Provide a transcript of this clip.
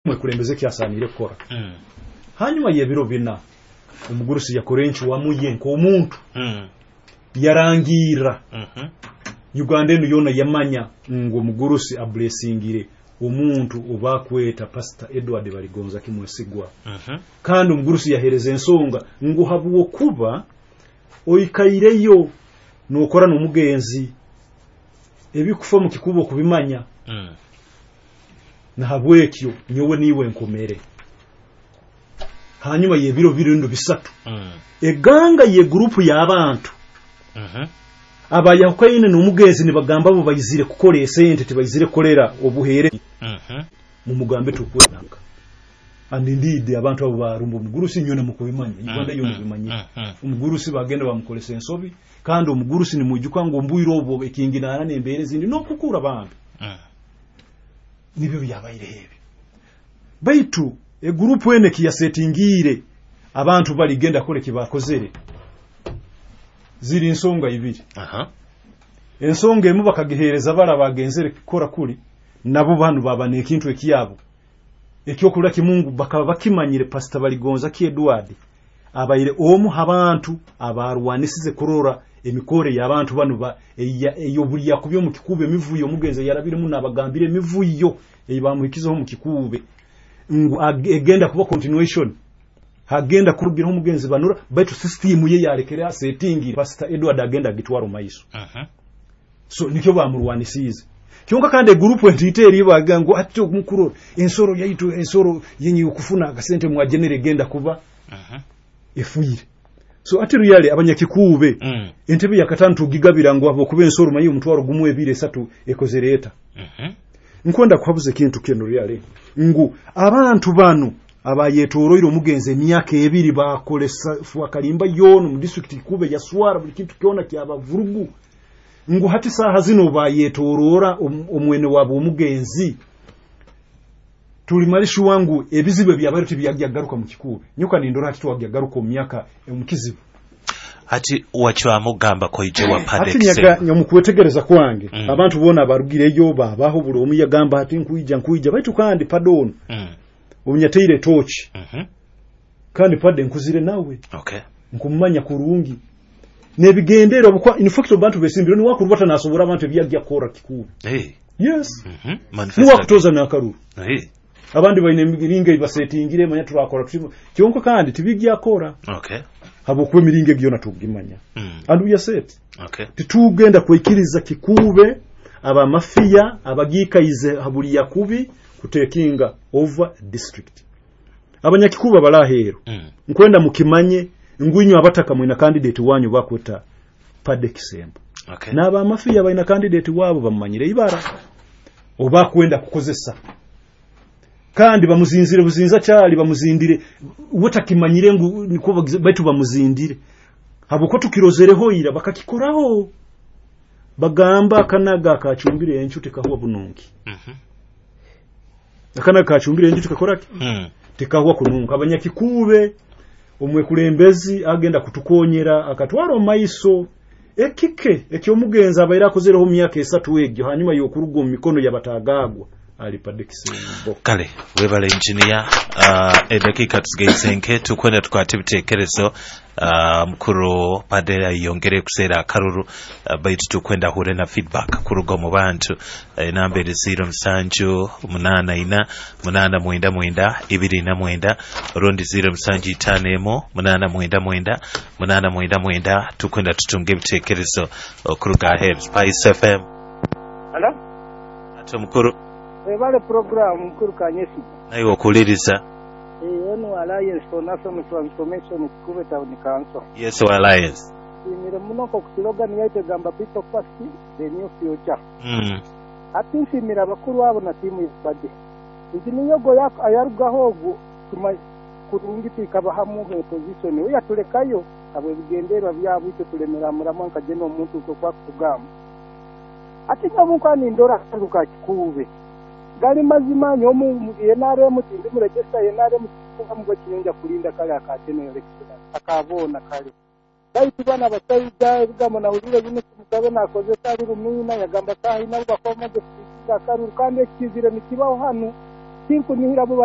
Mwekulembeze ekyasaanire kukora. Hanyuma y'ebiro 4, omugurusi yakora encwamu ye nk'omuntu, yarangirra. Uganda enu yoona yamanya ngu omugurusi ablessingire omuntu obakweta Pastor Edward Baligonza Kimwesigwa. Kandi omugurusi yaheereza ensonga ngu habwokuba oikaireyo n'okora n'omugenzi, ebikufa mu kikubo okubimanya, nahabwekyo nyowe niiwe nkomere. Hanyuma y'ebiro birundo 3, eganga y'egurupu y'abantu abayahukaine n'omugenzi nibagamba bo baizire kukora esente, tibaizire kukolera obuheere, mumugambe tukwenaka. And indeed abantu abo barumba omugurusi, nyowe mukubimanya, Uganda yoona ebimanyire. Omugurusi bagenda bamukolesa ensobi, kandi omugurusi nimwijuka ngu ombwire obwo ekinginana n'embeera ezindi n'okukura bambi. Nibyo byabaireho ebyo. Baitu egurupu eno ekiyasetingiire abantu baligenda kukora ekibakozere ziri nsonga ibiri. Ensonga emu bakagiheereza bali abagenzere kukora kuli, nabo banu baba n'ekintu ekyabo ekyokulira kimungu, bakaba bakimanyire Pastor Baligonza ki Edward abaire omu habantu abarwanisize kurora emikore y'abantu banu ey'obulya kubi omu kikuube, emivuyo omugenzi yarabiremu n'abagambire emivuyo ei bamuhikizeho omu kikuube ngu egenda kuba continuation, hagenda kurugiraho omugenzi banura, baitu system ye yarekere asetingire Pastor Edward agenda agitwara omu maiso. So nikyo bamurwanisiize. Kyonka kandi egurupu entiite eri bagira ngu ati omukurora ensoro yaitu, ensoro yenyi okufuna akasente mwagenere egenda kuba efuire. So ati really abanyakikuube, entebe ya 5 tugigabira ngu habwokuba ensoro manyi omutwaro 1, 2, 3 ekozere eta. Nkwenda kuhabuza ekintu kinu really ngu abantu banu abayetoroire omugenzi emyaka 2 bakolesa fwakalimba yoona mu district Kikuube yaswara buli kintu kyona kyabavurugu, ngu hati saaha zino bayetorora omwene wabo omugenzi, tulimalishuwa ngu ebizibu ebyabaire tibyajyagaruka mu Kikuube. Nyoka nindora hati twajyagaruka omu myaka omu kizibu. Hati wacwamu kugamba koije wa Hati nyaga mu kwetegereza kwange, abantu boona abarugireyo babaho buli omu yagamba ati nkwija, baitu kandi padono omunyateire tochi, kandi pade nkuzire nawe, nkumanya kurungi nebigendera obukwa. In fact abantu besimbire ni wakurubata nasobora abantu ebyajya kukora Kikuube. Yes. Ni wakutoza n'akaruru. Abandi baine emiringo eibasetingire, manya turakora tuti, kyonka kandi tibijya kora. Habwokuba emiringo egyo yona tugimanya. And we are set. Titugenda kwikiriza Kikuube abamafiya abagikaize habuli yakubi kutekinga over district. Abanyakikuube balaheero, nkwenda mukimanye ngu inywe abataka mwina candidate wanyu bakweta Pade Kisembo. N'abamafiya balina candidate wabo bamumanyire ibara oba kwenda kukozesa, kandi bamuzinzire buzinza kyali bamuzindire wetakimanyire ngu niko baitu bamuzindire habwokuba tukirozereho ira bakakikoraho bagamba akanaga akacumbire encu tekahuwa bunungi. Akanaga kacumbire encu tekakoraki, tekahuwa kununka. Abanyakikuube omwekulembezi agenda kutukonyera akatwara omaiso ekike ekyomugenzi abaire akozereho myaka 3 egyo hanyuma y'okuruga omu mikono y'abatagagwa ali Pade Kisembo. Kale webale engineer. Edakiika tusigaize nke, tukwenda tukwate ebitekerezo. Mukuru Pade ayongere kuseera akaruru, baitu tukwenda hure na feedback kuruga omu bantu. Enamba eri 07 84 8 99 29 rundi 07 51 8 99 899. Tukwenda tutunge ebitekerezo okuruga aheeru. Spice FM. Hello? Ate omukuru. Webale program mukuru Kanyesi. Naiwe okuliriza. Onu Alliance for National Transformation Kikuube Town Council. Yes, wa Alliance. Nsiimire muno nk'oku slogan yaitu egamba people first, the new future. Hati nsiimire abakuru abo na tiimu y'Pade. Engineer ogwo ayarugaho ogwo kurungi twikabahamu opposition we yatulekayo habw'ebigendererwa byabo, itwe tulemera muramwa nka jeno omuntu nk'oku akutugamba. Ati nyowe nka nindora akantu ka Kikuube gali mazima, nyowe NRM tindi muregesa NRM kuba mugwe kinyonja kulinda kale akateno election akabona kale baitu bana abasaija ebigambo nahulire bino Mugabe nakozesa ali Rumina yagamba sahi nabo bakoma de akaruru kandi ekizire nikibaho hanu tinkunihira bo.